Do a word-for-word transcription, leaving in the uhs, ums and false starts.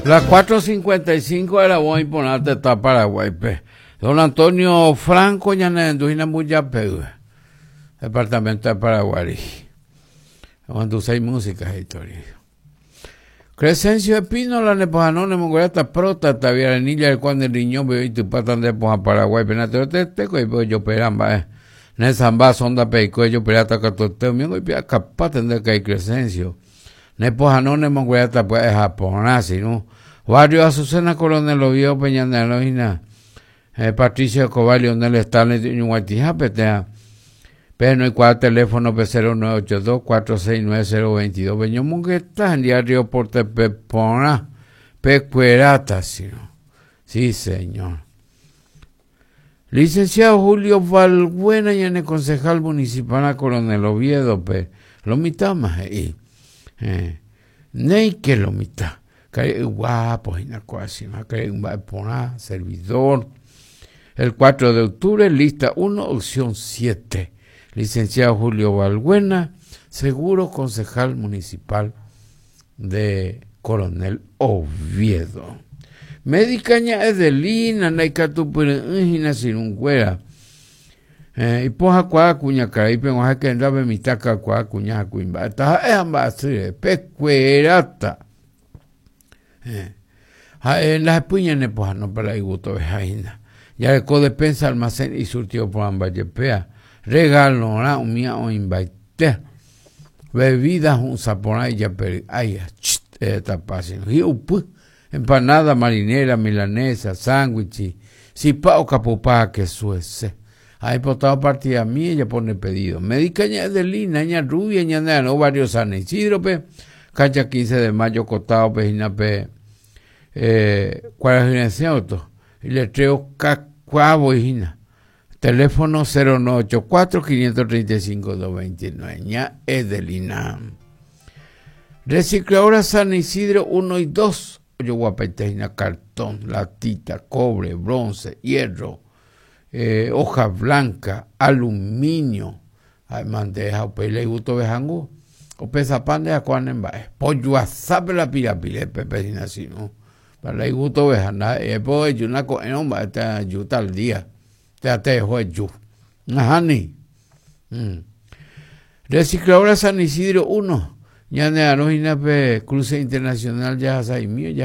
Las cuatro cincuenta y cinco era voy está Paraguay. Pe. Don Antonio Franco, ñane Mbujapey, departamento de Paraguay. Cuando seis músicas historia. Crescencio Espínola ne pohano ne mongorata próstata viarenilla el cuando el riñón be tu patan de poja Paraguay penate te te ko yo peramba eh. Ne samba sonda pe ko yo perata katote mi ngo pi capaz de que Crescencio. Ne pohano ne mongorata pues Japón sino Barrio Azucena, Coronel Oviedo, Peña eh, Patricio Escobar, Leonel Stanley, Ñuguatija, Petea. Pero no hay cuatro teléfono P cero nueve ocho dos cuatro seis nueve cero veintidós. Peño Mungueta, en diario Porte Pepona, Pecuerata, sí, sí, señor. Licenciado Julio Valbuena, y en el concejal municipal a Coronel Oviedo, pe, lo mitad más ahí. Eh, que lo mitad. Guapo, servidor. El cuatro de octubre, lista uno, opción siete. Licenciado Julio Valbuena, seguro concejal municipal de Coronel Oviedo. Médica Edelina, Naikatupurina Sirunguera. Eh, ipoha kwa kuña karaipe oaxaca enrabe mitaka kwa kuña kuimba ta eh amba pekuerata eh ha en la puña ne poha no para iguto vejaina ya ko despensa, almacén y surtido por ambayepea regalo ra umia o imbaite bebidas un sapona y ya per ay tapasino y upu empanada marinera, milanesa, sándwich, sipa o capupa que suese. Hay potado partida mía, ella pone pedido. Médica ña Adelina, ña Rubia, ña no, barrio San Isidro, pe, cancha quince de mayo, cotado, pe, pe, eh, cuál es el auto? Y le traigo cacuabo, hijina. Teléfono cero nueve ocho cuatro quinientos treinta y cinco doscientos veintinueve. Ña Edelina. Recicladora San Isidro uno y dos. Yo guapetejina cartón, latita, cobre, bronce, hierro, eh, hoja blanca, aluminio. Ay, mandeja, pele gusto bejangu. O pesa pan de acuanen ba. Pollo asape la pira pile pepe así, ¿no? Para gusto bejanda, eh, pues yo una co no ba te ayuda al día. Te te dejo yo. Ajá ni. Mm. Recicladora San Isidro uno. Ñane arojina pe cruce internacional ya mío ya.